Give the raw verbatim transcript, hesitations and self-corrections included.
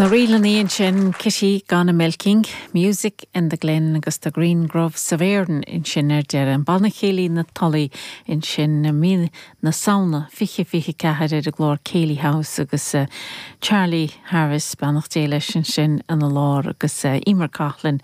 Na rílanna ansin Kitty Gone a Milking, Music in the Glen agus the Green Groves of Erin ansin ar deireadh an Banna Céilí na Tulaí ansin mí na Samhna fiche fiche ceathair ar an gclár Céilí House agus uh, Charlie Harris beannacht Dé leis ansin ina lár agus uh, Emer Coughlin